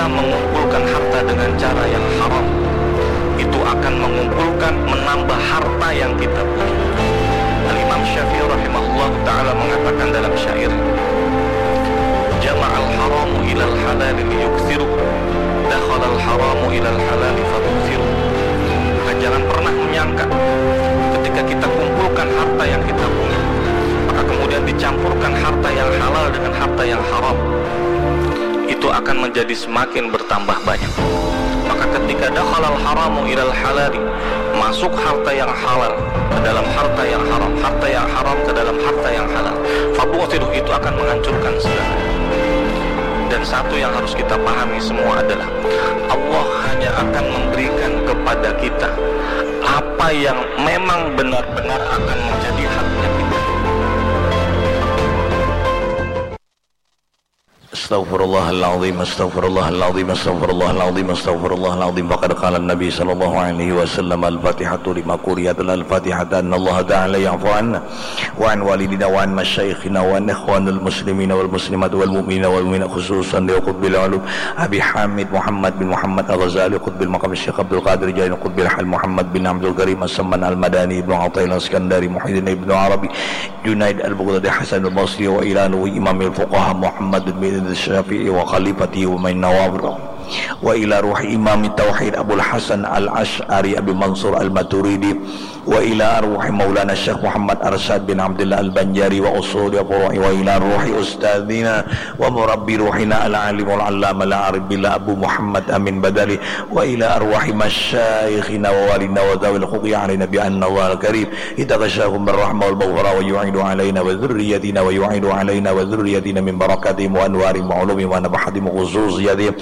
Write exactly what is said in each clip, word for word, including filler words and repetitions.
mengumpulkan harta dengan cara yang haram, itu akan mengumpulkan, menambah harta yang kita punya. Al-Imam Syafi'i rahimahullah ta'ala mengatakan dalam syair, "Jama'al haramu ilal halali liyuksiru, dakhalal haramu ilal halali fabuksiru." Maka jangan pernah menyangka ketika kita kumpulkan harta yang kita punya, maka kemudian dicampurkan harta yang halal dengan harta yang haram, itu akan menjadi semakin bertambah banyak. Maka ketika dakhalal haramu ilal halali, masuk harta yang halal ke dalam harta yang haram, harta yang haram ke dalam harta yang halal, fabuksiru, itu akan menghancurkan segala. Dan satu yang harus kita pahami semua adalah Allah hanya akan memberikan kepada kita apa yang memang benar-benar akan menjadi haknya kita. Astaghfirullahaladzim, astaghfirullahaladzim, astaghfirullahaladzim, astaghfirullahaladzim. Faqad qala Nabi sallallahu alaihi wasallam, "Al-Fatihatu lima quriat, al-Fatihata anna Allah Ta'ala ya'fu anna wa an walidina wa an masyayikhina wa an ikhwanul muslimina wal muslimat wal mu'minina wal mu'minat, khususan li qutbil ulum Abi Hamid Muhammad bin Muhammad Al-Ghazali, qutbil maqam Syekh Abdul Qadir Jain, qutbil hal Muhammad bin Abdul Karim As-Samman Al-Madani, Ibnu Athaillah Iskandari, Muhyiddin Ibnu Arabi, Junaid Al-Baghdadi, Hasan Al-Basri, wa ila ruhi Imamil Fuqaha Muhammad bin Idris Syafi'i wa khalifatihi wa min nawabir, wa ila ruhi Imam Tauhid Abul Hasan Al-Asy'ari Abi Mansur Al-Maturidi, wa ila arwahi Maulana Syekh Muhammad Arsyad bin Abdullah Al-Banjari wa usuli furu'i, wa ila ruhi ustadzina wa murabbi ruhina Al-Alimul Allama Al-Arif Billah Abu Muhammad Amin Badali, wa ila arwahi masyayikhina wa walina wa dzawil huquqi alaina bi anna Allaha Al-Karim اتغشاهم بالرحمة والمغفرة ويعيد علينا وذريتنا ويعيد علينا وذريتنا من بركاتهم وأنوارهم وعلومهم ونفحاتهم وخصوصياتهم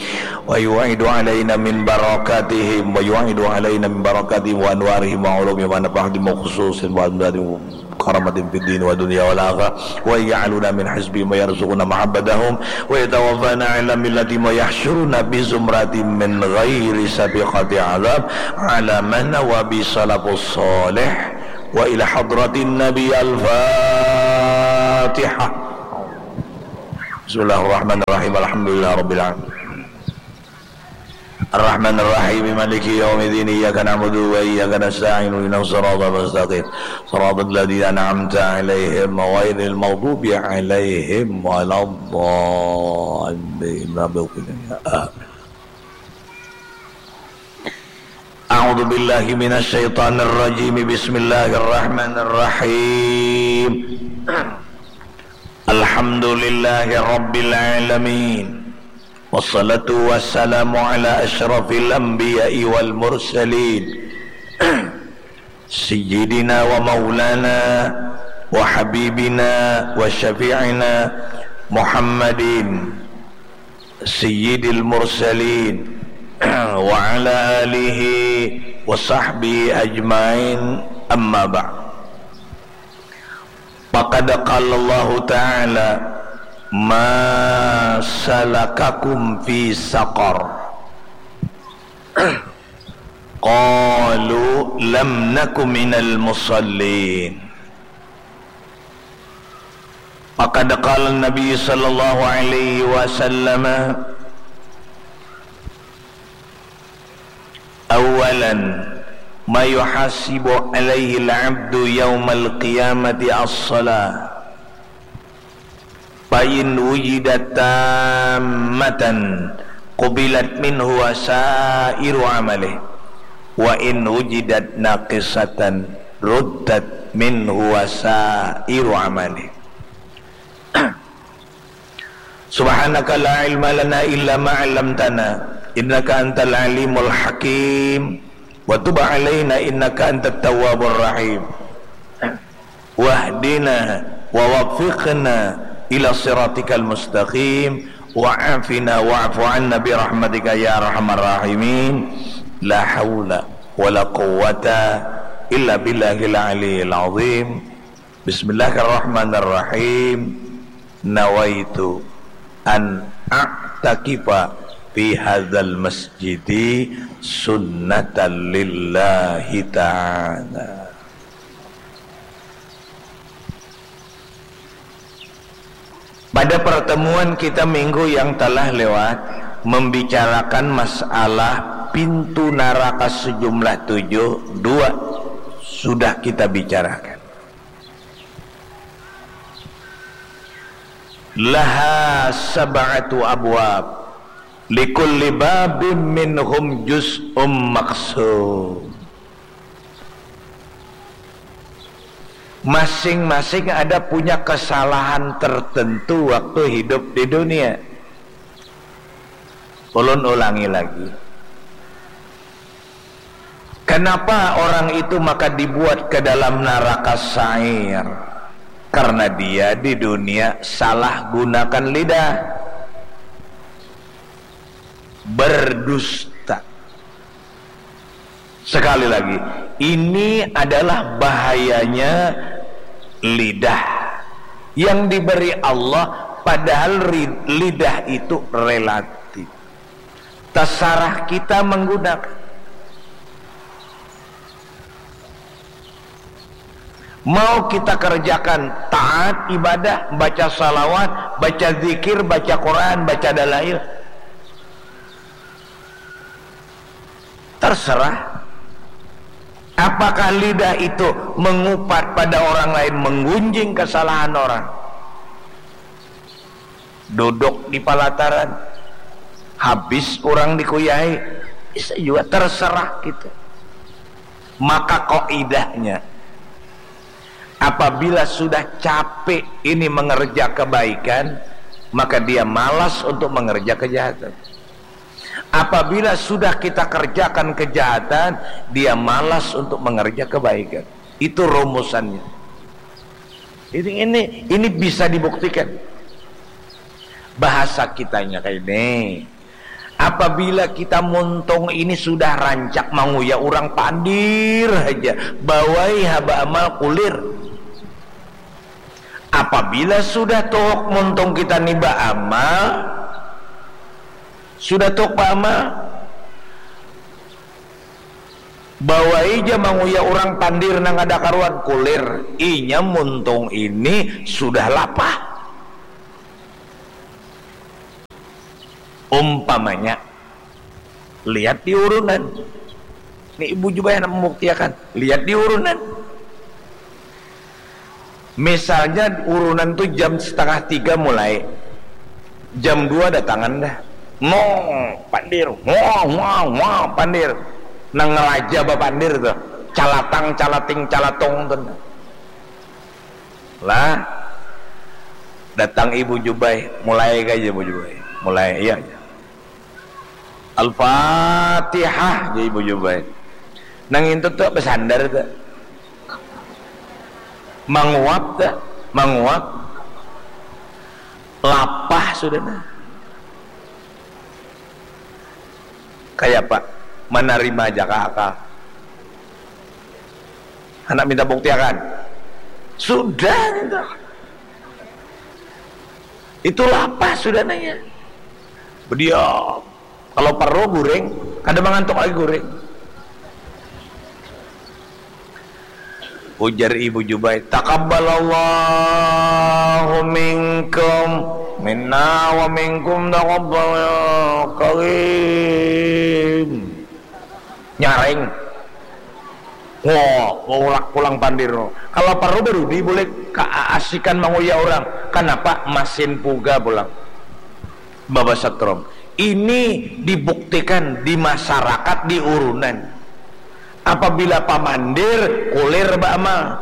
ويعيد علينا من بركاتهم ويعيد علينا من بركاتهم وأنوارهم وعلومهم ونفحاتهم وخصوصياتهم وأمدادهم وكراماتهم في الدين والدنيا والآخرة ويجعلنا من حزبهم ويرزقنا محبتهم ويتوفانا على ملتهم ويحشرنا بزمرتهم من غير سابقة عذاب على ما نوى به السلف الصالح. وإلى حضرة النبي الفاتحة. بسم الله الرحمن الرحيم. الحمد لله رب العالمين. الرحمن الرحيم. مالك يوم الدين. إياك نعبد وإياك نستعين. اهدنا الصراط المستقيم. صراط الذين أنعمت عليهم غير المغضوب عليهم ولا الضالين. آمين. أعوذ بالله من الشيطان الرجيم. بسم الله الرحمن الرحيم. الحمد لله رب العالمين. والصلاة والسلام على أشرف الأنبياء والمرسلين. سيدنا ومولانا وحبيبنا وشفيعنا محمد سيد المرسلين وعلى آله وصحبه أجمعين، أما بعد. فقد قال الله تعالى: ما سلككم في سقر؟ قالوا لم نك من المصلين. فقد قال النبي صلى الله عليه وسلم: أولا ما يحاسب عليه العبد يوم القيامة الصلاة، فإن وجدت تامة قبلت منه وسائر عمله، وإن وجدت ناقصة ردت منه وسائر عمله. سبحانك لا علم لنا إلا ما علمتنا إنك أنت العليم الحكيم. وتب علينا إنك أنت التواب الرحيم. واهدنا ووفقنا إلى صراطك المستقيم. وعافنا واعف عنا برحمتك يا أرحم الراحمين. لا حول ولا قوة إلا بالله العلي العظيم. بسم الله الرحمن الرحيم. نويت أن أعتكف في هذا المسجد سنة لله تعالى. Pada pertemuan kita minggu yang telah lewat, membicarakan masalah pintu naraka sejumlah tujuh, dua sudah kita bicarakan. Laha sab'atu abwab, likulli babim minhum juz'um maksum. Masing-masing ada punya kesalahan tertentu waktu hidup di dunia. Ulun ulangi lagi. Kenapa orang itu maka dibuat ke dalam naraka sair? Karena dia di dunia salah gunakan lidah. Berdusta. Sekali lagi, ini adalah bahayanya lidah yang diberi Allah, padahal ri-, lidah itu relatif. Tasarah kita menggunakan. Mau kita kerjakan taat ibadah, baca salawat, baca zikir, baca Quran, baca dalail. Terserah. Apakah lidah itu mengupat pada orang lain, menggunjing kesalahan orang? Duduk di palataran, habis orang dikuyahi, bisa juga terserah kita. Maka kaidahnya, apabila sudah capek ini mengerja kebaikan, maka dia malas untuk mengerja kejahatan. Apabila sudah kita kerjakan kejahatan, dia malas untuk mengerja kebaikan. Itu rumusannya. Ini, ini, ini bisa dibuktikan. Bahasa kitanya kayak ini. Apabila kita muntung ini sudah rancak manguya orang pandir aja, bawai haba amal kulir. Apabila sudah tuhuk muntung kita ni baamal, sudah tuhuk baamal, bawai ja manguya urang pandir nang kada karuan, kulir. Inya muntung ini sudah lapah. Umpamanya, lihat di urunan. Ni Ibu Jubair handak mambuktiakan. Lihat di urunan. Misalnya urunan tu jam setengah tiga mulai. Jam dua datangan dah. Mong, pandir. Wah, wah, wah, pandir. Nang raja bapandir tu. Calatang, calating, calatung tu. Lah, datang Ibu Jubai, mulai ka Ibu Jubai. Mulai, iya, iya. Al-Fatihah, jar Ibu Jubai. Nang intut tu basandar tu. Manguap tu, manguap. Lapah sudah nah. Kayapa? Manarima aja kah akal? Handak minta buktiakan? Sudah minta. Itu lapah sudah nanya. Bediam. Kalau perlu guring, kada mangantuk lagi guring. Ujar Ibu Jubai, "Taqabbalallahu minkum, minna wa minkum taqabbal ya karim." Nyaring. Wah, ulak pulang pandir. Kalau perlu baru dibulik keasikan manguya orang. Kenapa? Masin puga pulang. Babasetrum. Ini dibuktikan di masyarakat, di urunan. Apabila pamandir, kulir baamal.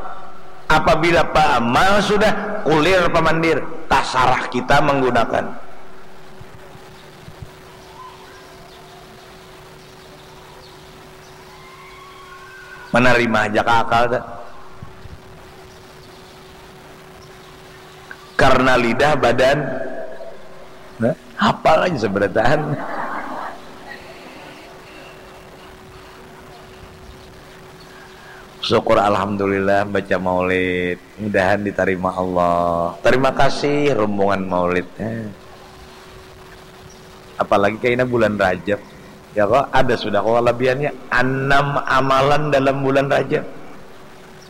Apabila baamal sudah, kulir pamandir. Tasarah kita menggunakan. Manarima aja ka akal tu. Karena lidah badan, nah, hapal aja seberataan. Syukur alhamdulillah baca maulid. Mudahan ditarima Allah. Terima kasih rombongan maulid. Eh. Apalagi kaina bulan Rajab. Ya kok, ada sudah kok kelebihannya. Enam amalan dalam bulan Rajab.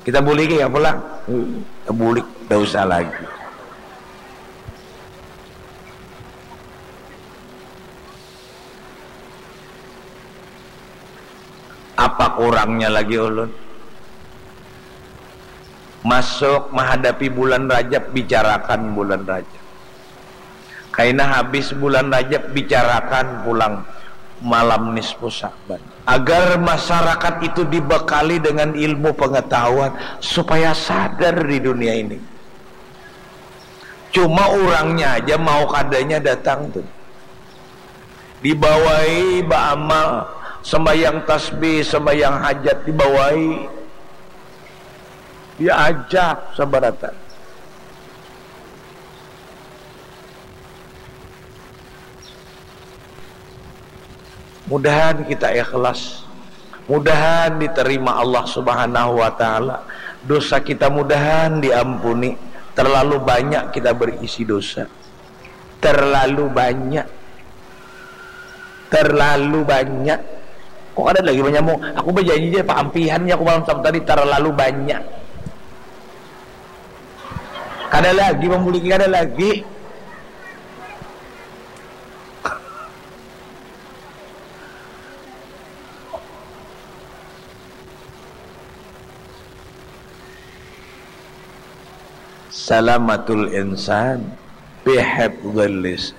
Kita boleh ya pulang? Hmm, kita boleh, tidak usah lagi. Pakurangnya lagi ulun. Masuk mahadapi bulan Rajab, bicarakan bulan Rajab. Kaina habis bulan Rajab, bicarakan pulang malam nisfu Sa'ban. Agar masyarakat itu dibekali dengan ilmu pengetahuan supaya sadar di dunia ini. Cuma urangnya aja mau kadanya datang tuh. Dibawai baamal, sembahyang tasbih, sembahyang hajat dibawai. Diajak sabaratan. Mudahan kita ikhlas. Mudahan diterima Allah Subhanahu wa Ta'ala. Dosa kita mudahan diampuni. Terlalu banyak kita berisi dosa. Terlalu banyak. Terlalu banyak. Kok ada lagi menyambung? Aku berjanji aja, Pak Ampihan ya, aku malam Sabtu tadi terlalu banyak. Kada lagi membuliki, kada lagi. Salamatul insan bihifdzil lisan.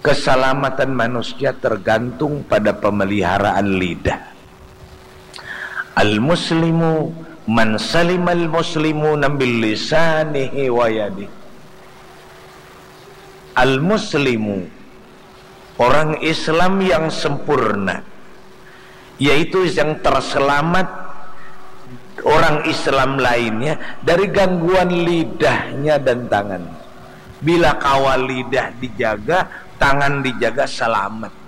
Keselamatan manusia tergantung pada pemeliharaan lidah. Al-muslimu man salimal muslimuna min lisanihi wa yadih. Al-muslimu, orang Islam yang sempurna, yaitu yang terselamat orang Islam lainnya dari gangguan lidahnya dan tangan. Bila kawa lidah dijaga, tangan dijaga, selamat.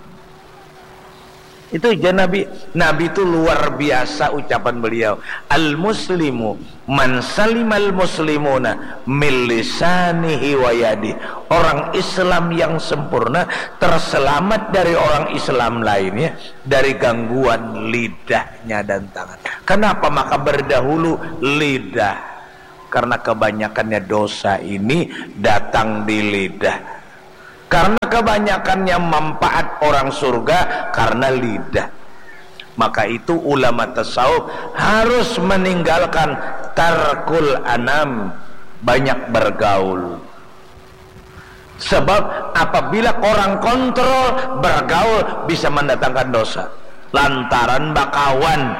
Itu aja Nabi. Nabi itu luar biasa ucapan beliau. Al-muslimu man salimal muslimuna min lisanihi wa yadih. Orang Islam yang sempurna terselamat dari orang Islam lainnya dari gangguan lidahnya dan tangan. Kenapa maka berdahulu lidah? Karena kebanyakannya dosa ini datang di lidah. Karena kebanyakannya manfaat orang surga karena lidah. Maka itu ulama tasawuf harus meninggalkan tarkul anam, banyak bergaul. Sebab apabila orang kontrol, bergaul bisa mendatangkan dosa. Lantaran bakawan,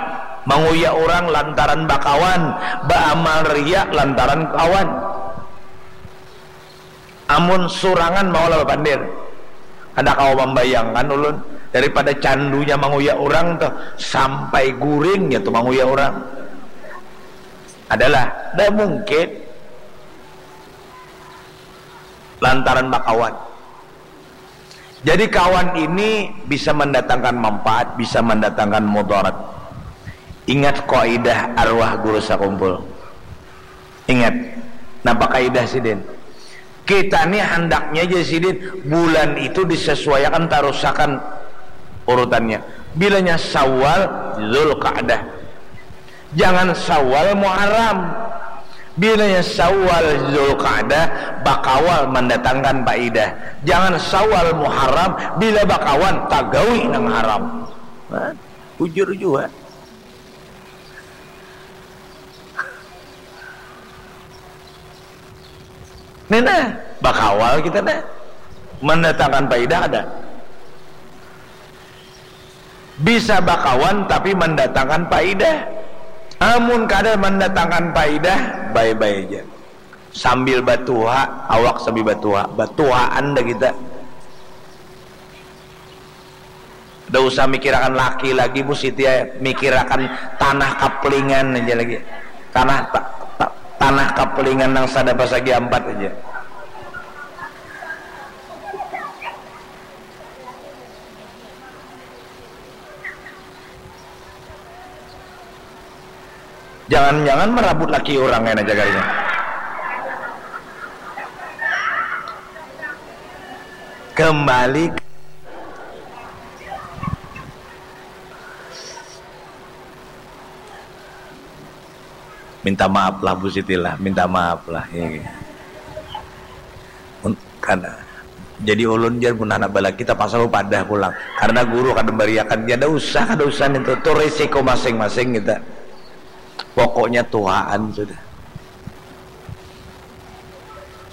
manguya orang lantaran bakawan, baamal riya lantaran kawan. Amun surangan maulah bapandir. Kada kawa mambayangkan ulun, daripada candunya manguya urang tuh, sampai guringnya tuh manguya urang. Adalah, dah mungkin. Lantaran bakawan. Jadi kawan ini bisa mendatangkan manfaat, bisa mendatangkan mudarat. Ingat kaidah arwah guru sakumpul. Ingat, napa kaidah sidin? Kita ni handaknya aja sidin, bulan itu disesuaiakan tarusakan urutannya. Bilanya Syawal, Zulqa'dah. Jangan Syawal, Muharram. Bilanya Syawal, Zulqa'dah, bakawal mandatangkan paidah. Jangan Syawal, Muharram, bila bakawan, tagawi nang haram. Nah, bujur jua. Nih nah, bakawal kita nah. Mandatangkan paidah ada. Bisa bakawan tapi mandatangkan paidah. Amun kada mandatangkan paidah, bye-bye aja. Sambil batuha, awak sambil batuha. Batuhaan dah kita. Kada usah mikirakan laki lagi, Bu Siti, ya. Mikirakan tanah kaplingan aja lagi. Tanah ta- ta- tanah kaplingan nang sada pasagi ampat aja. Jangan-jangan marabut laki urang kena jagarnya. Kembali ke- Minta maaf lah, Bu Siti lah. Minta maaf lah. Iya. Un- Kada. Jadi ulun jar mun anak balaki tapaksa bapadah pulang karena guru kada memberiakan. Kada usah, kada usah nintu, tu risiko masing-masing kita. Pokoknya tuhaan sudah.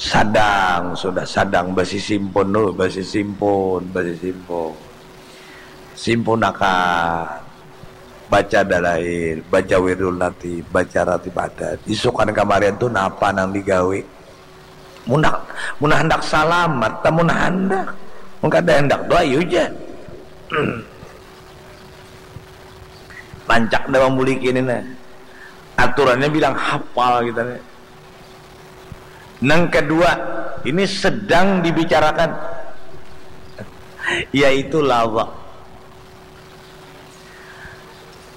Sadang sudah, sadang basisimpun dulu, basisimpun, basisimpun. Simpunakan, baca dalail, baca wirdul natib, baca ratib adat. Isukan kamarian tu napa nang digawi? Mun handak, mun handak salamat, tah mun handak. Mun kada handak tu ayu ja. Rancak dah mambuliki ini nah. Aturannya bilang hafal kita nih. Nang kedua, ini sedang dibicarakan, yaitu lawa.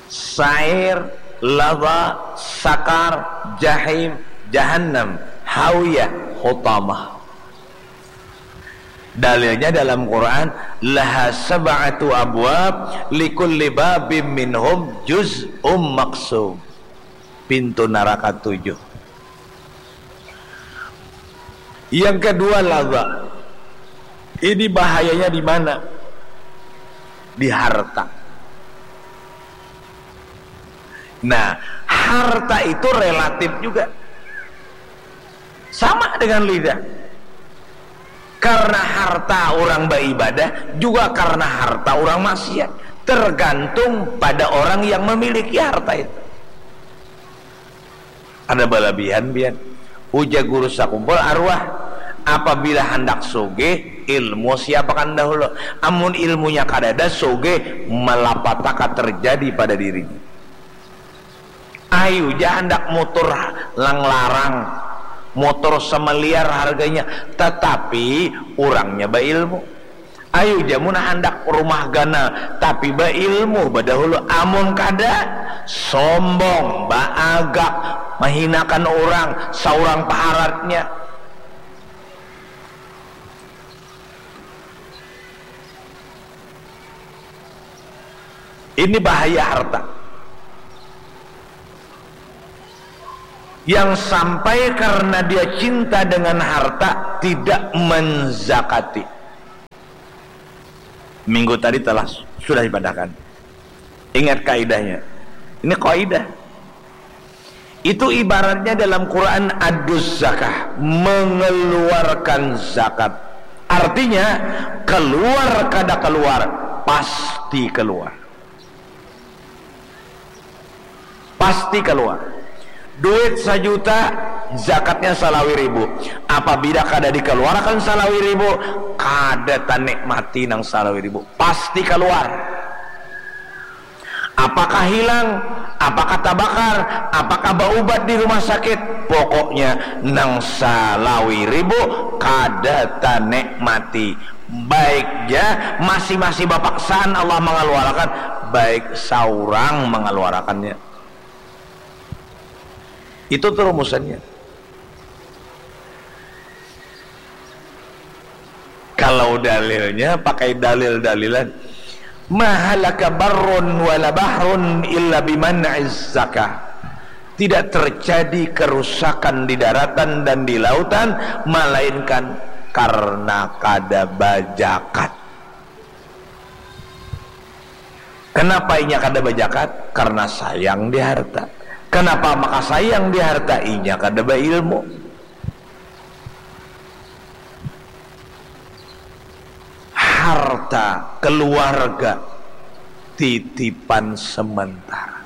Sair, lawa, sakar, jahim, jahannam, hawiyah, hutamah. Dalilnya dalam Quran, laha sab'atu abwab, likulli babim minhum juz'um maksum. Pintu naraka tujuh. Yang kedua, lawa. Ini bahayanya di mana? Di harta. Nah, harta itu relatif juga. Sama dengan lidah. Karena harta orang beribadah, juga karena harta orang maksiat. Tergantung pada orang yang memiliki harta itu. Ada balabihan pian. Ujar guru sakumpul arwah, apabila handak sugih, ilmu siapakan dahulu. Amun ilmunya kadada, sugih malapataka terjadi pada dirinya. Ayu ja handak mutur nang larang, mutur samiliar harganya, tatapi urangnya bailmu. Ayu ja mun handak rumah ganal, tapi bailmu badahulu. Amun kada, sombong, baagak, mahinakan urang, saurang paharatnya. Ini bahaya harta. Yang sampai karena dia cinta dengan harta, tidak menzakati. Minggu tadi telah sudah dipadakan. Ingat kaidahnya. Ini kaidah. Itu ibaratnya dalam Quran adus zakah, mengeluarkan zakat. Artinya, keluar kada keluar, pasti keluar. Pasti keluar. Duit sajuta, zakatnya salawi ribu. Apabila kada dikeluarkan salawi ribu, kada tanikmati nang salawi ribu. Pasti keluar. Apakah hilang? Apakah tabakar? Apakah baubat di rumah sakit? Pokoknya nang salawi ribu kada tanikmati. Baik ja, masih-masih bapaksaan Allah mangaluarakan, baik saurang mangaluarakannya. Itu tu rumusannya. Kalau dalilnya pakai dalil-dalilan, mahalaka barrun wala bahrun illa biman'iz zakah. Tidak terjadi kerusakan di daratan dan di lautan melainkan karena kada bajakat. Kenapa inya kada bajakat? Karena sayang di harta. Kenapa maka sayang di harta? Inya kada bailmu. Harta keluarga titipan sementara.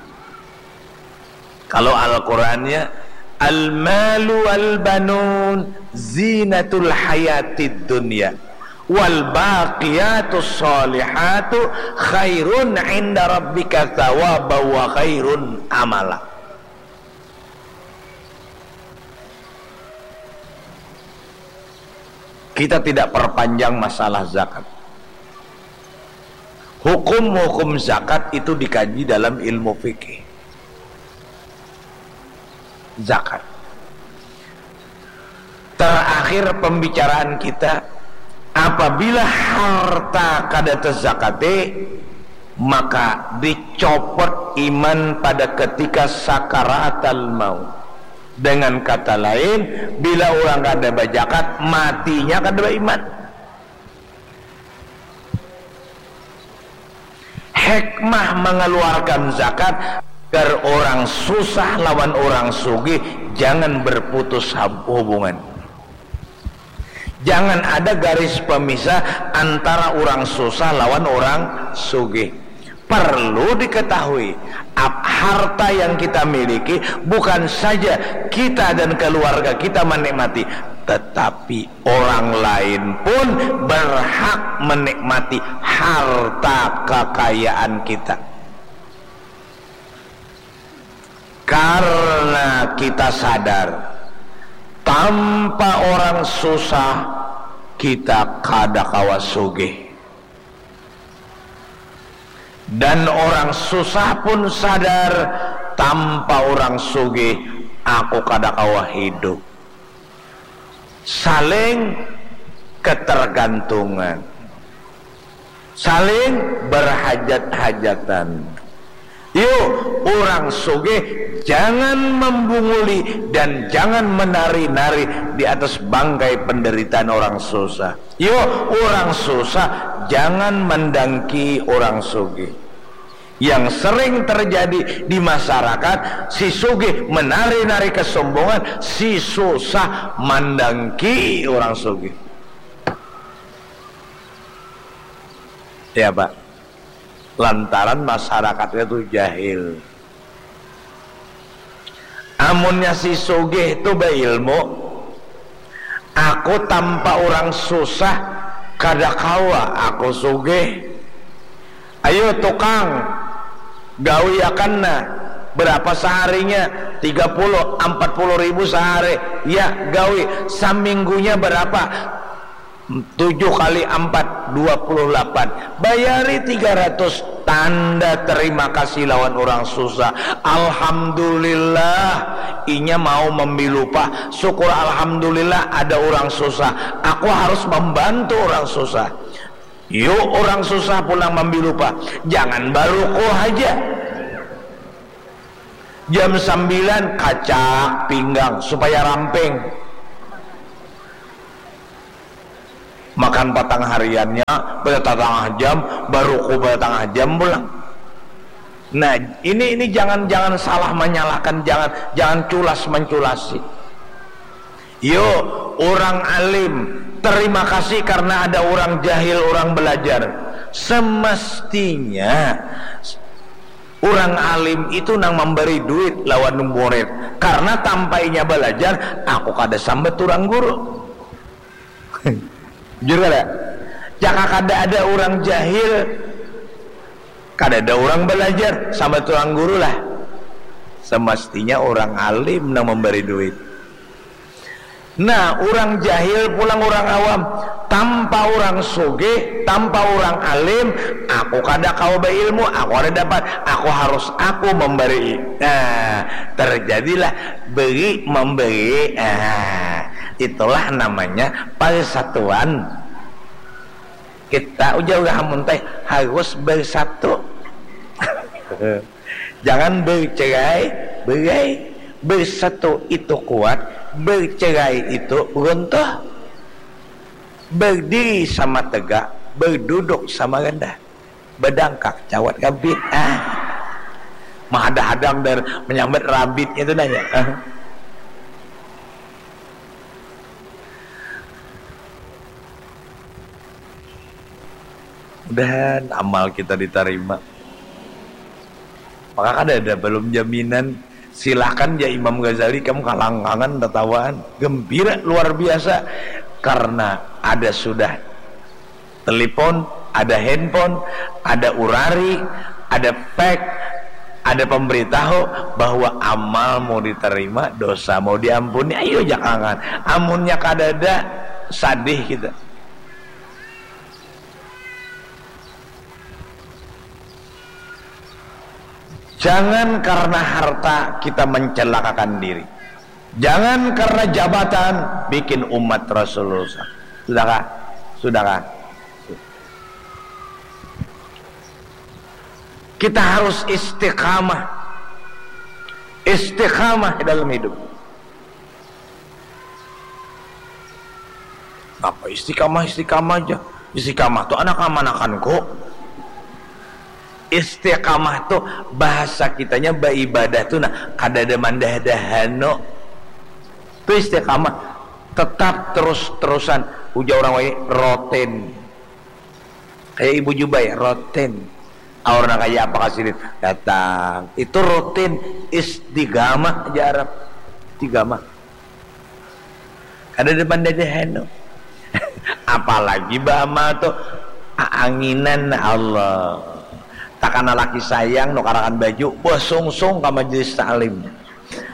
Kalau Al-Qurannya, al-malu wal banun zinatul hayatid dunya wal baqiyatus salihatu khairun inda rabbika thawaba wa khairun amala. Kita tidak perpanjang masalah zakat. Hukum-hukum zakat itu dikaji dalam ilmu fikih. Zakat. Terakhir pembicaraan kita, apabila harta kada tezakati, maka dicopot iman pada ketika sakaratal maut. Dengan kata lain, bila orang kada bajakat, matinya kada baiman. Hikmah mengeluarkan zakat agar orang susah lawan orang sugih jangan berputus hubungan. Jangan ada garis pemisah antara orang susah lawan orang sugih. Perlu diketahui, harta yang kita miliki bukan saja kita dan keluarga kita menikmati, tetapi orang lain pun berhak menikmati harta kekayaan kita. Karena kita sadar, tanpa orang susah, kita kada kawa sugih. Dan orang susah pun sadar, tanpa orang sugih, aku kada kawa hidup. Saling ketergantungan, saling berhajat-hajatan. Yuk, orang sugih jangan membunguli dan jangan menari-nari di atas bangkai penderitaan orang susah. Yuk, orang susah jangan mendangki orang sugih. Yang sering terjadi di masyarakat, si sugih menari-nari kesombongan, si susah mandangki orang sugih. Ya, Pak. Lantaran masyarakatnya tuh jahil. Amunnya si sugih tuh beilmu, aku tanpa orang susah kada kawa aku sugih. Ayo tukang, gawiakan nah. Berapa seharinya? Tiga puluh, empat puluh ribu sehari. Ya, gawi. Saminggunya berapa? Tujuh kali empat, dua puluh delapan. Bayari tiga ratus. Tanda terima kasih lawan orang susah. Alhamdulillah, inya mau memberi upah. Syukur alhamdulillah ada orang susah. Aku harus membantu orang susah. Yuk orang susah pulang mambilupa, jangan baruku haja. Jam sambilan kacak pinggang supaya ramping. Makan patang hariannya pada tatangah jam, baruku pada tangah jam pulang. Nah, ini ini jangan jangan salah menyalahkan, jangan jangan culas menculasi. Yo, orang alim, terima kasih karena ada orang jahil, orang belajar. Semestinya orang alim itu nang memberi duit lawan murid, karena tanpa inya belajar, aku kada sambat orang guru. Jujur kada? Jaka kada ada orang jahil, kada ada orang belajar, sambat orang guru lah. Semestinya orang alim nang memberi duit. Nah, urang jahil pulang urang awam, tanpa urang sugih, tanpa urang alim, aku kada kawa bailmu, aku kada dapat, aku harus aku mambarii. Nah, terjadilah beri memberi. Nah, itulah namanya persatuan. Kita ujar urang Hamun teh harus bersatu. Jangan bercerai berai. Bersatu itu kuat, bercerai itu runtuh. Berdiri sama tegak, berduduk sama rendah. Bedangkak cawat gabit. Ah. Mahadang-hadang dan menyambat rabit itu nanya. Mudahan amal kita ditarima. Maka kada ada belum jaminan. Silahkan ya Imam Ghazali, kamu kalangkangan tatawaan. Gembira luar biasa. Karena ada sudah telepon, ada handphone, ada urari, ada fax, ada pemberitahu bahwa amal mau diterima, dosa mau diampuni. Ayo jangan. Amunnya kadada, sadih kita. Jangan karena harta kita mencelakakan diri. Jangan karena jabatan bikin umat Rasulullah. Sudahkah? Sudahkah? Kita harus istiqamah. Istiqamah dalam hidup. Apa istiqamah, istiqamah aja? Istiqamah tuh anak amanakanku. Istiqamah tu bahasa kitanya baibadah tu nah, kadada mandah-dahanu. Tu istiqamah, tetap terus-terusan. Ujar orang wai, rotin. Kayak Ibu Jubai, rotin. Aur nang kaya apa kasini datang. Itu rutin, istiqamah aja Arab. Istiqamah. Kada ada pandadahan tu. Apalagi baamal tu aanginan Allah. Takana laki sayang nukarakan baju, basungsung ka majelis taklim.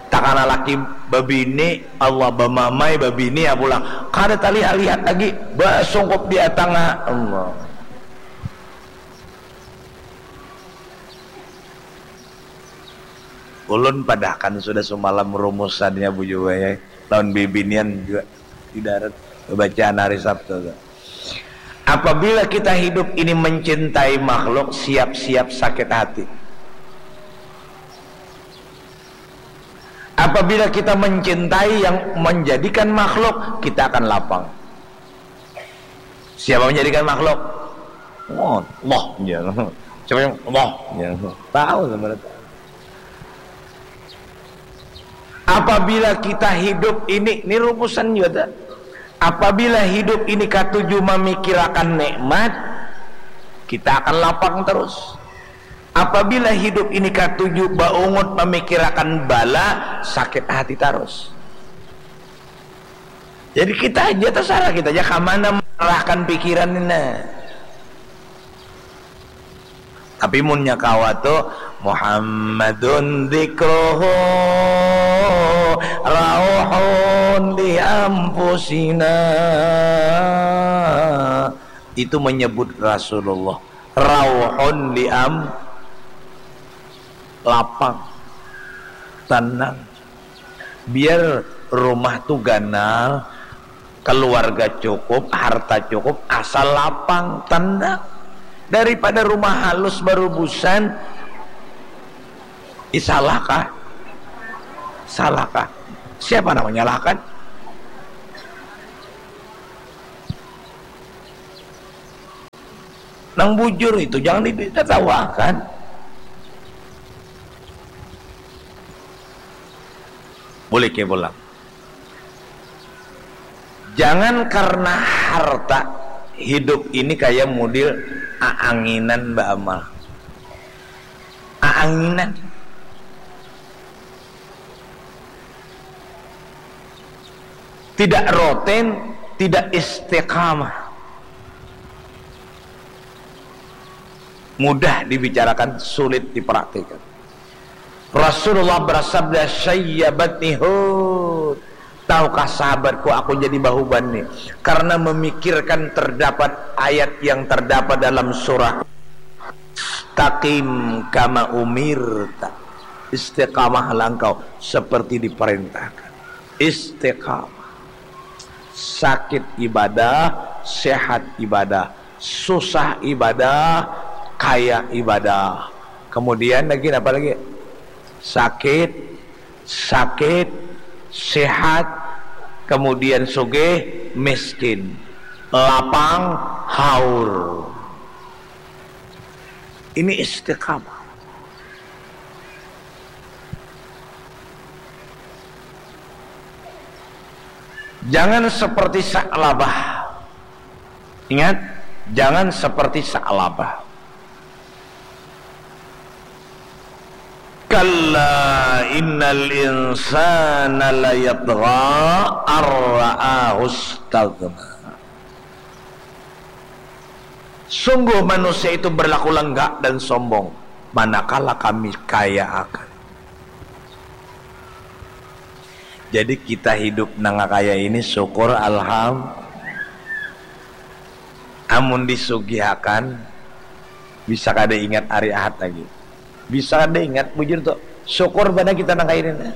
Takana laki babini, Allah bamamai babini ya pulang. Kada talihat-lihat lagi, basungkup di atanga Allah. Ulun padahkan sudah sumalam rumusannya bujur ya. Lawan bibinian juga di darat bacaan hari Sabtu tu. Apabila kita hidup ini mencintai makhluk, siap-siap sakit hati. Apabila kita mencintai yang menjadikan makhluk, kita akan lapang. Siapa menjadikan makhluk? Oh, Allah. Ya. Siapa yang Allah? Ya. Tahu sebenarnya. Apabila kita hidup ini, ini rumusan juga. Apabila hidup ini katuju memikirakan nikmat, kita akan lapang terus. Apabila hidup ini katuju baungut memikirakan bala, sakit hati terus. Jadi kita aja terserah kita aja kemana mengarahkan pikiran ini. Tapi munnya kawa tu Muhammadun dzikruhu rauhun li anfusina. Itu menyebut Rasulullah. Rauhun li am lapang. Tenang. Biar rumah tu ganal, keluarga cukup, harta cukup, asal lapang, tenang. Daripada rumah halus barubusan, ih, salahkah? Salahkah? Siapa nak menyalahkan? Nang bujur itu jangan ditertawakan. Boleh ke pulang. Jangan karena harta hidup ini kayak model aanginan baamal. Aanginan. Tidak roten, tidak istiqamah. Mudah dibicarakan, sulit dipraktikkan. Rasulullah bersabda, "Syayyabatni Hud." Tahukah sahabatku, aku jadi bahuban nih karena memikirkan terdapat ayat yang terdapat dalam surah, "Istaqim kama umirta." Istiqamahlah engkau seperti diperintahkan. Istiqamah. Sakit ibadah, sehat ibadah. Susah ibadah, kaya ibadah. Kemudian lagi apa lagi? Sakit, sakit, sehat, kemudian sugih, miskin, lapang, haur. Ini istiqamah. Jangan seperti Sa'labah. Ingat, jangan seperti Sa'labah. Kalla innal insana layatgha ar ra'ahu istaghna. Sungguh manusia itu berlaku lenggak dan sombong, manakala kami kaya akan. Jadi kita hidup nang kaya ini syukur alham. Amun disugihakan, bisa kada ingat hari Ahad lagi. Bisa kada ingat, bujur tu. Syukur banar kita nang kaya ini.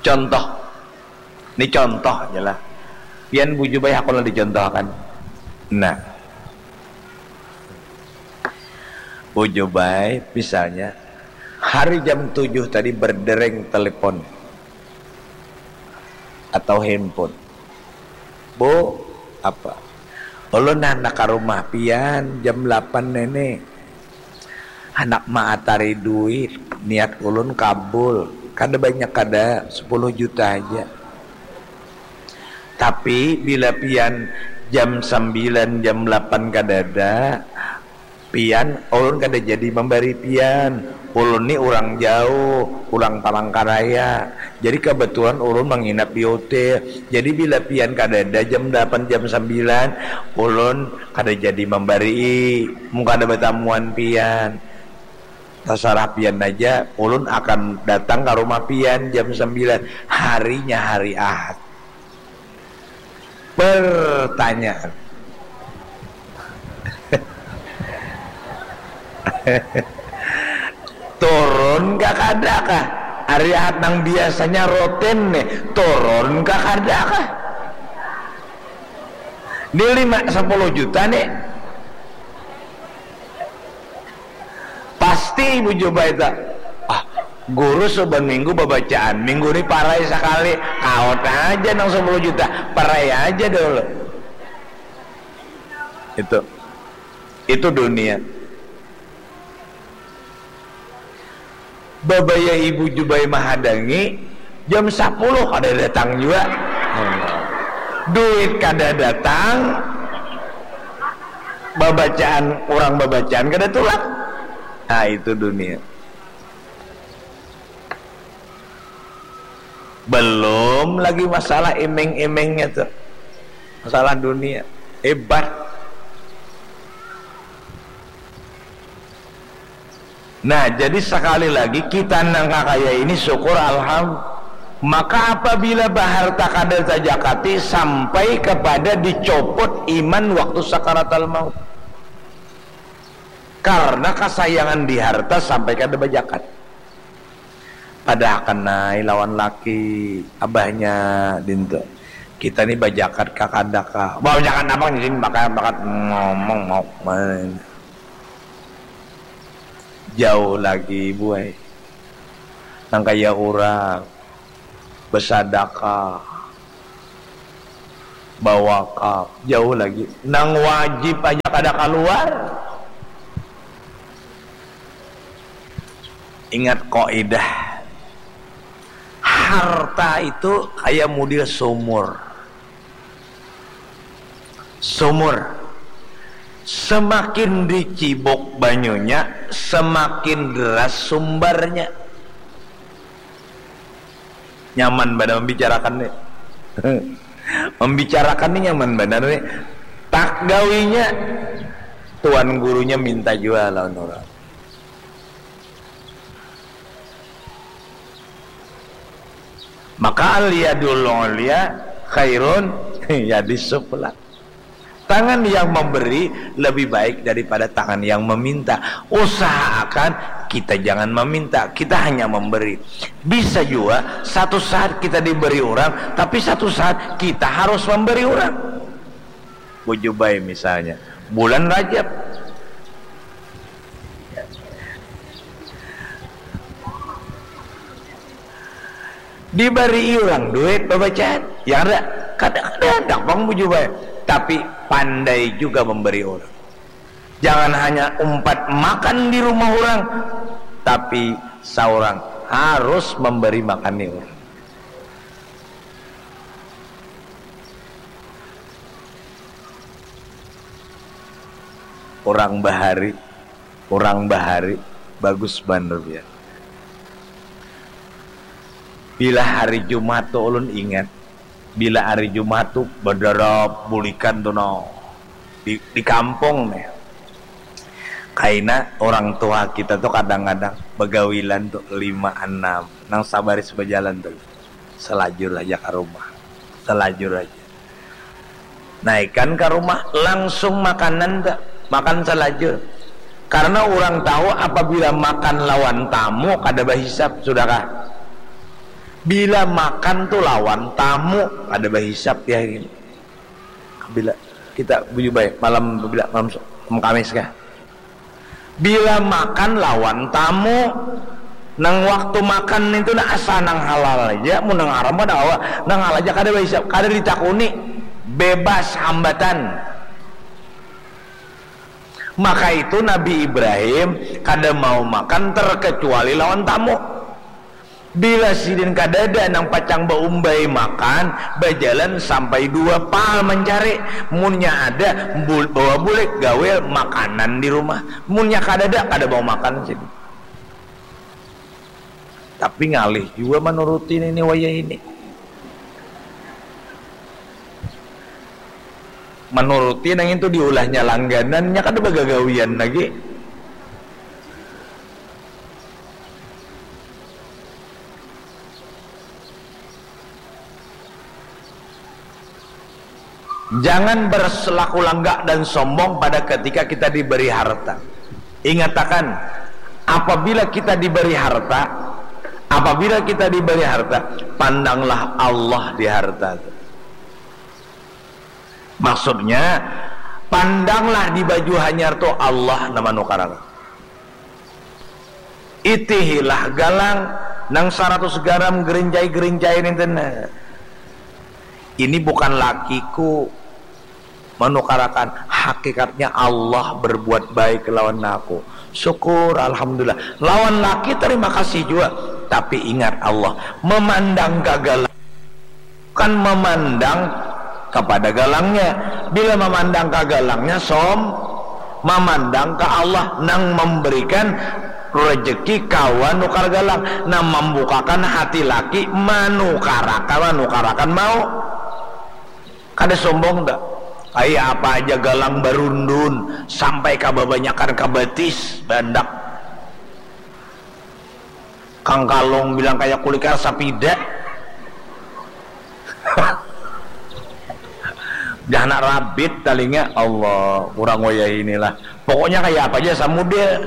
Contoh. Ini contoh aja lah. Pian bujur bae hakun lah dicontohkan. Nah. Bujur bae, misalnya, hari jam tujuh tadi berdereng telepon atau handphone. "Bu, apa? Ulun handak ka rumah pian jam delapan nene." Handak maatari duit, niat ulun kabul. Kada banyak, kada, sepuluh juta haja. Tapi bila pian jam sambilan, jam lapan kadada, pian, ulun kada jadi mambari pian. Ulun ni urang jauh, urang Palangkaraya. Jadi kabetulan ulun manginap di hotel. Jadi bila pian kadada jam lapan, jam sambilan, ulun kada jadi mambarii. Mun kada batamuan pian. Tasarah pian haja, ulun akan datang ka rumah pian jam sambilan. Harinya hari Ahad. Pertanyaan. Turun kah kada kah? Hari Ahad nang biasanya rutin nih, turun kah kada kah? Ni lima, sepuluh juta nih. Pasti Ibu Jubaita, "Ah, guru saban minggu babacaan, minggu ni parai sakali, kaot aja nang sepuluh juta, parai aja dulu." Itu. Itu dunia. Babaya Ibu Jubai mahadangi, jam sapuluh kada datang jua. Duit kada datang, babacaan, urang babacaan kada tulak. Nah, itu dunia. Belum lagi masalah iming-imingnya tu. Masalah dunia. Hebat. Nah, jadi sakali lagi, kita nang kakaya ini syukur, alham-, maka apabila baharta kada tajakati sampai kapada dicopot iman waktu sakaratal maut. Karna kasayangan di harta sampai kada bajakat. Padahakan ai lawan laki abahnya dintu. Kita ni bajakat kah kada kah? Bajakat napa di sini? Bakat, bakat ngomong mau main. Jauh lagi, buai. Nang kaya urang basadakah, bawakaf, jauh lagi. Nang wajib aja kada kaluar. Ingat kaidah, harta itu kaya mudil sumur. Sumur. Semakin dicibuk banyunya, semakin deras sumbarnya. Nyaman banar membicarakan ni. Membicarakan ni nyaman banar ni. Tak gawinya, tuan gurunya minta jua lawan urang. Maka al-yadul ulya khairun yadis sufla. Tangan yang memberi lebih baik daripada tangan yang meminta. Usahakan kita jangan meminta, kita hanya memberi. Bisa jua satu saat kita diberi urang, tapi satu saat kita harus memberi urang. Bujubai misalnya, bulan Rajab. Dibari urang duit babacaan, ya kada, kada, kada handak pang bujubai. Tapi pandai juga memberi urang. Jangan hanya umpat makan di rumah urang, tapi saurang harus memberi makan ni urang. Urang bahari, urang bahari, bagus banar pian. Bila hari Jumat tu ulun ingat, bila hari Jumat tu badarap bulikan tu nah, di, di kampung nih. Kaina orang tua kita tu kadang-kadang bagawilan tu lima anam, nang sabaris bajalan tu. Salajur aja ka rumah. Salajur aja. Naikan ka rumah, langsung makanan tu. Makan salajur. Karena urang tahu apabila makan lawan tamu kada bahisap, sudahkah? Bila makan tu lawan tamu kada bahisap ya. Bila kita bujubai malam, bila malam, malam Kamis kah? Bila makan lawan tamu, nang waktu makan itu nah asal nang halal aja, mun nang haram kada kawa, nang halal aja kada bahisap, kada ditakuni, bebas hambatan. Maka itu Nabi Ibrahim kada mau makan terkecuali lawan tamu. Bila sidin kadada nang pacang baumbai makan, bajalan sampai dua pal mancari. Munnya ada, bul- bawa bulik gawil makanan di rumah. Munnya kadada, kada mau makan sidin. Tapi ngalih jua manuruti nini wayah ini. Manuruti nang itu diulahnya langganan, nya kada bagagawian lagi. Jangan berselaku langgak dan sombong pada ketika kita diberi harta. Ingatakan, apabila kita diberi harta, apabila kita diberi harta, pandanglah Allah di harta tu. Maksudnya, pandanglah di baju hanyar tu Allah nang manukarakan. Itihilah galang nang saratus garam gerincai-gerincai ninten. Ini bukan lakiku manukarakan, hakikatnya Allah berbuat baik lawan aku. Syukur, alhamdulillah. Lawan laki terima kasih jua. Tapi ingat Allah, memandang ka galang bukan memandang kepada galangnya. Bila memandang ka galangnya, som memandang ka Allah nang memberikan rejeki kawa nukar galang, nang membukakan hati laki manukarakan, manukarakan mau. Kada sombong dah. Kaya apa aja galang barundun sampai ka babanyakan ka batis, bandak. Kang Kalung bilang kaya kulikar sapida. Dah anak rabit talinga, Allah, kurang wayah inilah. Pokoknya kaya apa aja samudel.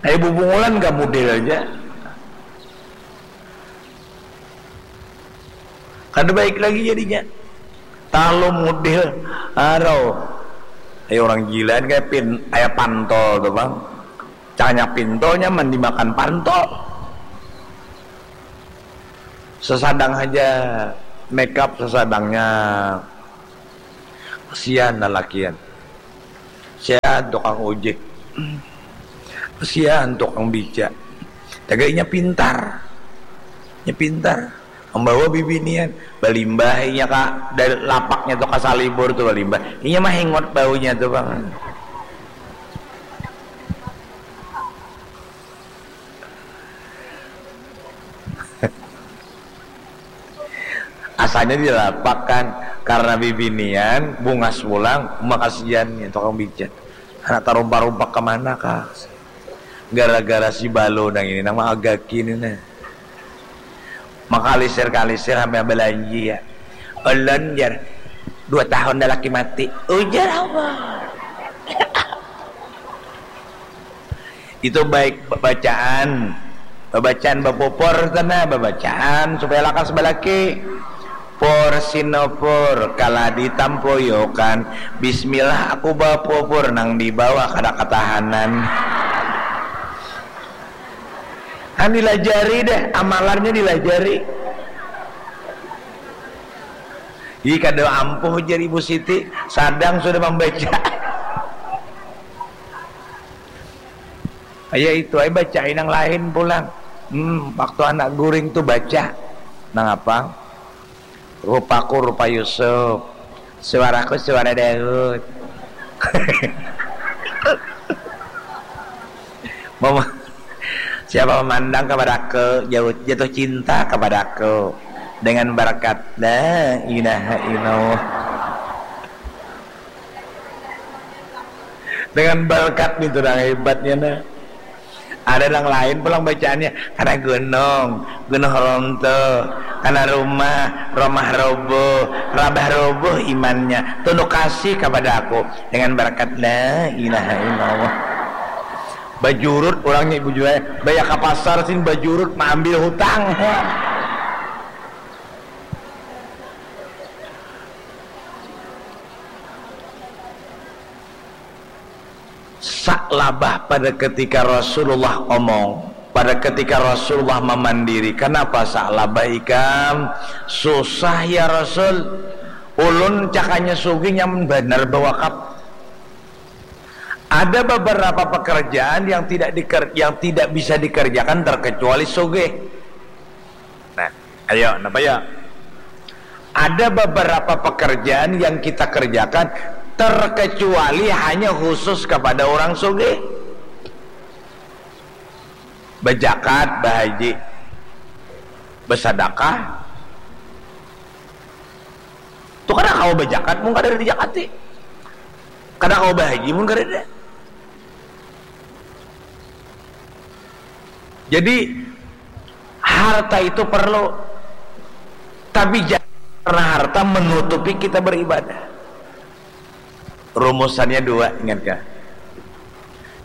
Kaya bubungulan ka mudel aja. Kada baik lagi jadinya. Talu mudel, arau. Kaya orang gilaan, kaya pin, kaya pantol tu, bang. Canya pintolnya mandi makan pantol. Sesadang aja makeup sesadangnya. Kasihan lalakian. Kasihan tukang ojek. Kasihan tukang beca. Tagal inya pintar. Inya pintar. Membawa bibinian. Balimbah inya ka dari lapaknya tu ka salibur tu balimbah. Inya mahingot baunya tu, bang. Asalnya dilapak kan, karena bibinian bungas pulang, makasian ya tukang beca. Anak tarumpak-rumpak kemana kah? Gara-gara si Balo nang ini, nang maagaki ini nah. Makalisir-kalisir sampai balanji ya. Ulun jar, dua tahun dah laki mati. Ujar apa? Itu baik bacaan. Babacaan bapupur tu nah, babacaan supaya lakas balaki. Pur sinopur, kalah ditampuyokan. Bismillah aku bapupur, nang di bawah kada katahanan. Kan dilajari deh, amalannya dilajari. Ih, kada ampuh jar Ibu Siti, sadang sudah mambaca. Aya itu ai, bacai nang lain pulang. Hmm, waktu anak guring tu baca. Nang apa? Rupaku rupa Yusuf. Suaraku suara Daud. Mama, siapa memandang kepadaku, jauh, jatuh cinta kepadaku. Dengan berkat la ilaha illallah. Dengan berkat itu dah hebatnya nah. Ada nang lain pulang bacaannya, karena gunung, gunung ronto, karena rumah, rumah roboh, rabah roboh imannya, tunduk kasih kepada aku dengan berkat la ilaha illallah. Bajurut orangnya ibu jual, baya ke pasar sin bajurut maambil hutang. Sa'labah pada ketika Rasulullah omong, pada ketika Rasulullah mamandiri, kenapa Sa'labah ikam susah ya Rasul? Ulun cakanya sugih nyaman banar bawakaf. Ada beberapa pekerjaan yang tidak diker, yang tidak bisa dikerjakan terkecuali sugih. Nah, ayo, napa ya? Ada beberapa pekerjaan yang kita kerjakan terkecuali hanya khusus kepada orang sugih. Bejakat, bahaji, besadakah. Tuh kada kawa bejakat mun kada dijakati. Kada kawa bahaji mun kada ada. Jadi harta itu perlu, tapi jangan karena harta menutupi kita beribadah. Rumusannya dua, ingat kah?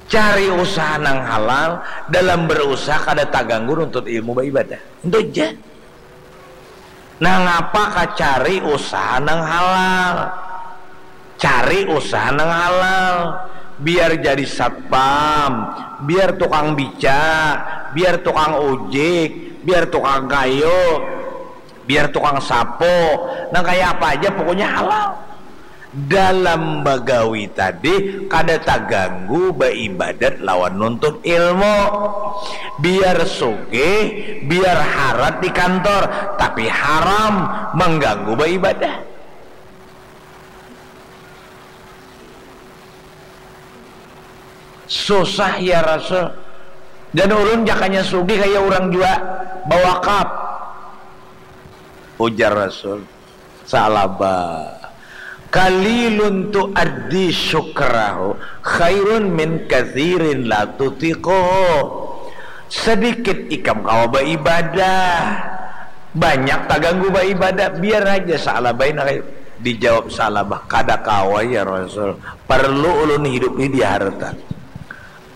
Cari usaha nang halal, dalam berusaha kada taganggu nuntut ilmu beribadah. Itu aja. Nangapa kacari usaha nang halal? Cari usaha nang halal. Biar jadi satpam, biar tukang bica, biar tukang ujik, biar tukang kayu, biar tukang sapu, nang kaya apa aja pokoknya halal. Dalam bagawi tadi kada taganggu baibadat lawan nuntut ilmu. Biar sugih, biar harat di kantor, tapi haram mangganggu baibadah. Susah ya Rasul. Dan ulun jakanya sugih kaya urang jua bawakaf. Ujar Rasul, Sa'labah, qalilun tuaddi syukrahu khairun min katsirin la tutiquhu. Sedikit ikam kawa baibadah, banyak taganggu baibadah, biar aja Sa'labah ini. Dijawab Sa'labah, kada kawa ya Rasul, perlu ulun hidup ni di harta.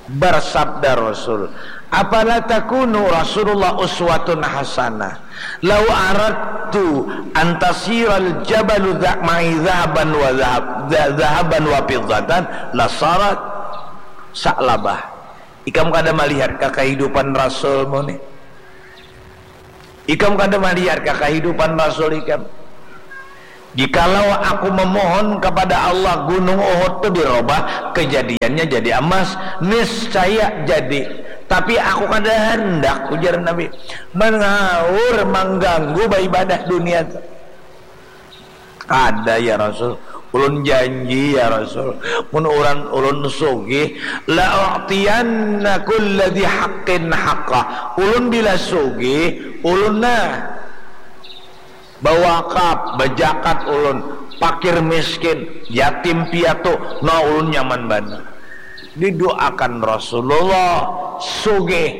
Bersabda Rasul, "Afala takunu Rasulullah uswatun hasanah? Lau aradtu antasiral jabalu ma'i zahaban wa zahab, zahaban wa fiddatan lasarat." Sa'labah, ikam kada malihat ka kahidupan Rasulmu ni? Ikam kada malihat ka kahidupan Rasul ikam? Jikalau aku memohon kepada Allah gunung Uhud tu dirobah, kejadiannya jadi emas, niscaya jadi. Tapi aku kada handak, ujar Nabi, mengaur, mengganggu beribadah dunia tu. Kada ya Rasul, ulun janji ya Rasul, mun uran ulun sugih, la u'tiyanna kulladzi haqqin haqqah. Ulun bila sugih, ulun nah bawakaf, bajakat ulun, pakir miskin, yatim piatu, nah ulun nyaman banar. Didoakan Rasulullah sugih,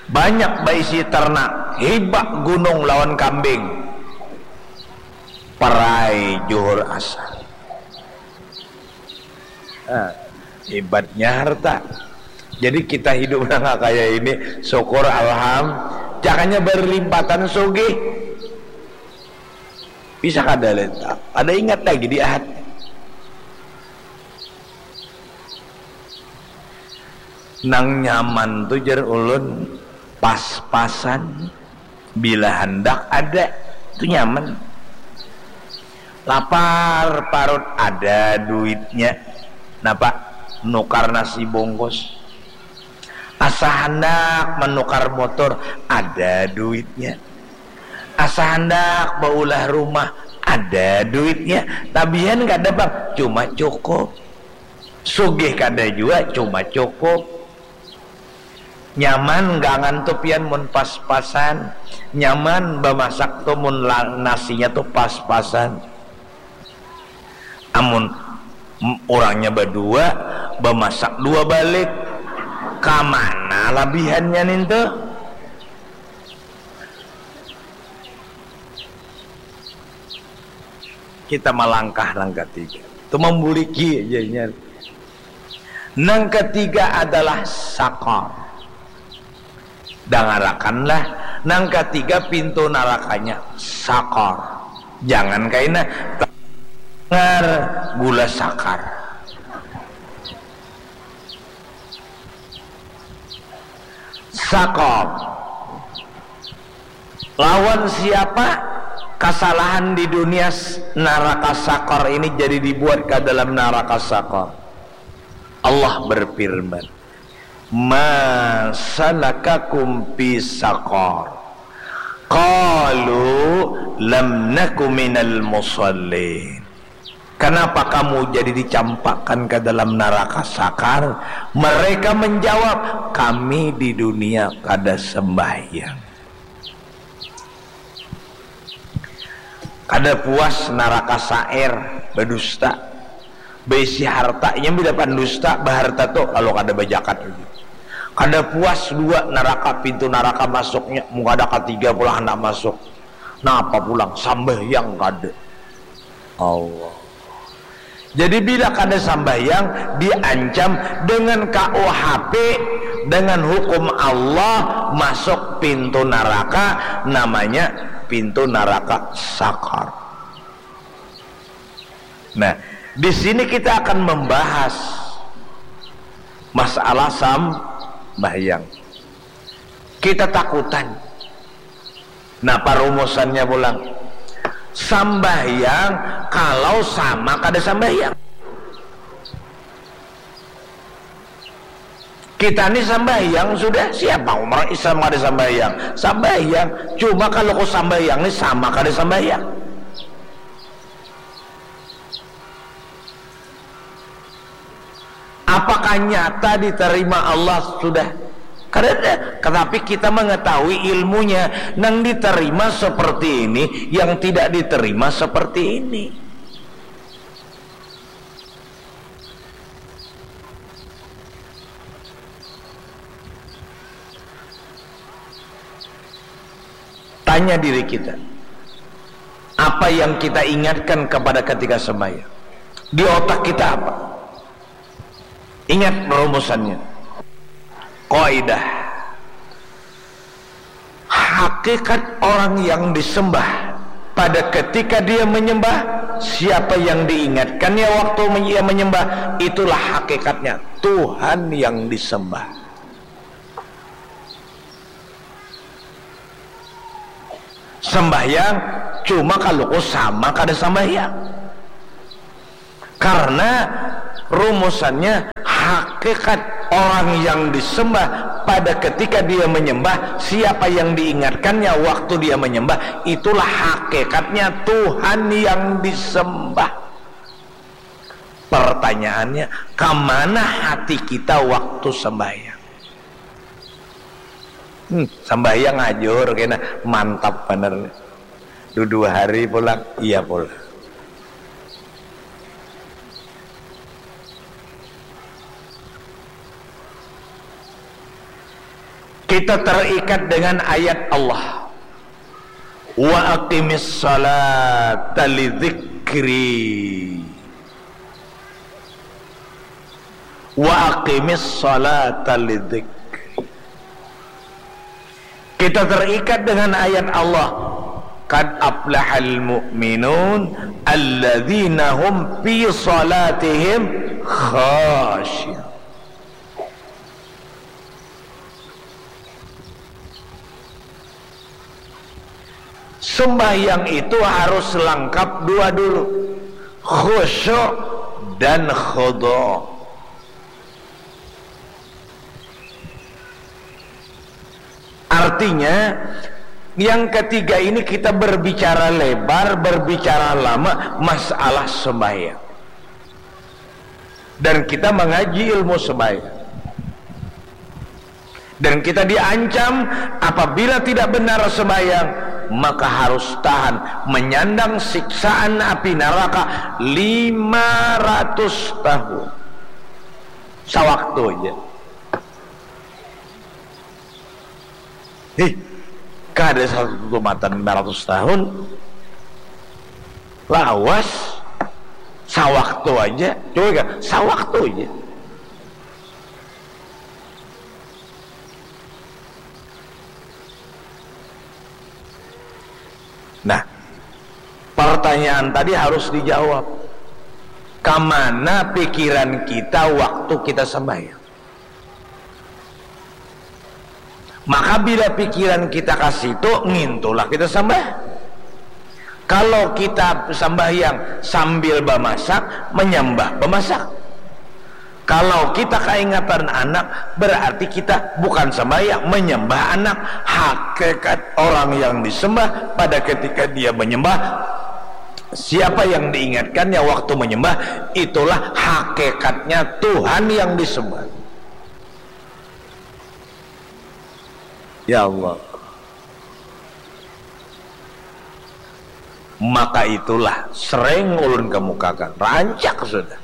banyak baisi ternak, hibak gunung lawan kambing. Perai juhur asar. Nah, hebatnya harta. Jadi kita hidup nang kaya ini, syukur, alham. Jakanya berlimpatan sugih. Bisa kada leta, kada ingat lagi di ahad. Nang nyaman tu jar ulun pas-pasan. Bila handak ada, tu nyaman. Lapar parut, ada duitnya. Napa? Nukar nasi bungkus. Asa handak manukar motor, ada duitnya. Asa handak baulah rumah, ada duitnya. Tabihan kada pang, cuma cukup. Sugih kada jua, cuma cukup. Nyaman gangan tu pian mun pas-pasan. Nyaman bamasak tu mun la-, nasinya tu pas-pasan. Amun m-, urangnya badua, bamasak dua balik, kamana labihannya nintu? Kita malangkah nang katiga. Tu mambuliki aja inya. Nang katiga adalah sakar. Dangarakanlah, nang katiga pintu narakanya sakar. Jangan kaina, tangar gula sakar. Sakar. Lawan siapa? Kasalahan di dunia s-, naraka sakar ini jadi dibuat ka dalam naraka sakar. Allah berfirman, "Ma salakakum fi saqar? Qalu lam naku minal musallin." Kenapa kamu jadi dicampakkan ke dalam neraka sakar? Mereka menjawab, "Kami di dunia kada sembahyang." Kada puas neraka sair, badusta, baisi harta, inya bila pandusta, baharta tu kalu kada bajakat lagi. Kada puas dua neraka, pintu neraka masuknya, mun kada katiga pulang handak masuk. Napa pulang? Sambahyang kada. Allah. Jadi bila kada sambahyang, diancam dengan K U H P, dengan hukum Allah, masuk pintu neraka, namanya pintu neraka sakar. Nah, di sini kita akan membahas masalah sambahyang. Kita takutan. Nah, parumusannya pulang, sambahyang kalau sama kada sambahyang. Kita ni sambahyang sudah, siapa orang Islam kada sambahyang? Sambahyang, cuma kalau ku sambahyang ni sama kada sambahyang. Apakah nyata diterima Allah? Sudah. Kadada. Tetapi kita mengetahui ilmunya. Nang diterima seperti ini, yang tidak diterima seperti ini. Tanya diri kita, apa yang kita ingatkan kepada ketika sembahyang? Di otak kita apa? Ingat rumusannya. Kaidah. Hakikat orang yang disembah pada ketika dia menyembah, siapa yang diingatkannya waktu men-, ia menyembah, itulah hakikatnya Tuhan yang disembah. Sembahyang cuma kaluku sama kada sembahyang. Karena rumusannya, hakikat orang yang disembah pada ketika dia menyembah, siapa yang diingatkannya waktu dia menyembah, itulah hakikatnya Tuhan yang disembah. Pertanyaannya, kemana hati kita waktu sembahyang? Hmm, sambahyang ajur kena, mantap banar. Dua hari pulang, iya pulang. Kita terikat dengan ayat Allah. Wa aqimis salata li dzikri. Wa aqimis salata li dzikri. Kita terikat dengan ayat Allah, "Qad aflahal mu'minun alladzina hum fi salatihim khasyi'un." Sembahyang itu harus lengkap dua dulu, khusyuk dan khudu. Artinya, yang ketiga ini kita berbicara lebar, berbicara lama, masalah sembahyang. Dan kita mengaji ilmu sembahyang. Dan kita diancam, apabila tidak benar sembahyang, maka harus tahan menyandang siksaan api neraka lima ratus tahun. Sawaktu aja. Hih, kada satu tumatan lima ratus tahun. Lawas, sawaktu aja. Coba kan, sawaktu aja. Nah, pertanyaan tadi harus dijawab. Kamana pikiran kita waktu kita sembahyang? Maka bila pikiran kita ka situ, ngintulah kita sambah. Kalau kita sambahyang sambil bamasak, manyambah bamasak. Kalau kita kaingatan anak, berarti kita bukan sembahyang, menyembah anak. Hakikat orang yang disembah pada ketika dia menyembah siapa yang diingatkannya waktu menyembah, itulah hakikatnya Tuhan yang disembah. Ya Allah. Maka itulah sering ulun kemukakan, rancak sudah.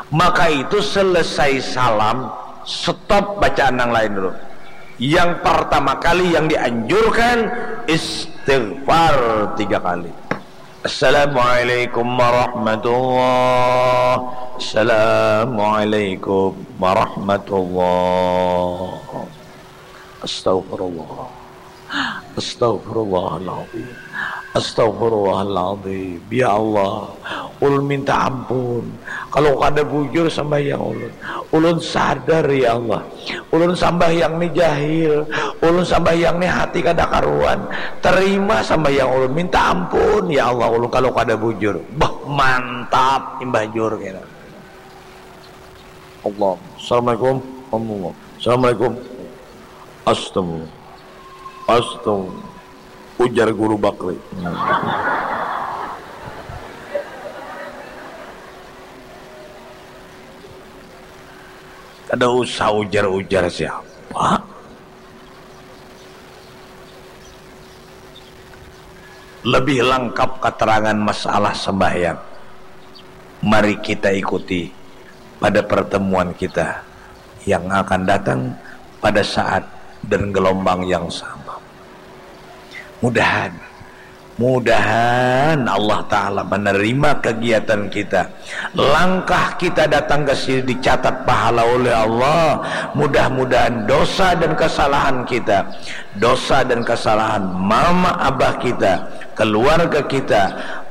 Maka itu selesai salam, stop bacaan yang lain dulu. Yang pertama kali yang dianjurkan istighfar tiga kali. Assalamualaikum warahmatullah. Assalamualaikum warahmatullah. Astagfirullah. Astagfirullahaladzim. Astagfirullahaladzim. Ya Allah, ulun minta ampun kalau kada bujur sambahyang ulun. Ulun sadar, ya Allah, ulun sambahyang ni jahil. Ulun sambahyang ni hati kada karuan. Terima sambahyang ulun. Minta ampun, ya Allah, ulun kalau kada bujur. Bah, mantap imbah jur kena. Allah. Assalamualaikum. Allah. Assalamualaikum. Astaga. Astaga. Ujar Guru Bakri. Kada usah ujar-ujar siapa. Lebih lengkap keterangan masalah sembahyang, mari kita ikuti pada pertemuan kita yang akan datang pada saat dan gelombang yang sama. Mudahan, mudahan Allah Ta'ala menerima kegiatan kita. Langkah kita datang ke sini dicatat pahala oleh Allah. Mudah-mudahan dosa dan kesalahan kita, dosa dan kesalahan mama abah kita, keluarga kita,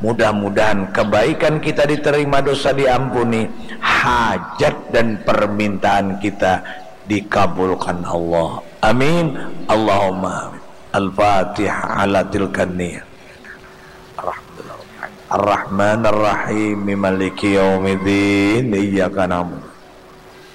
mudah-mudahan kebaikan kita diterima, dosa diampuni, hajat dan permintaan kita dikabulkan Allah. Amin. Allahumma amin. Al-Fatihah ala tilkan niyah. Ar-Rahman Ar-Rahim. Maliki yaumiddin. Iyyaka na'budu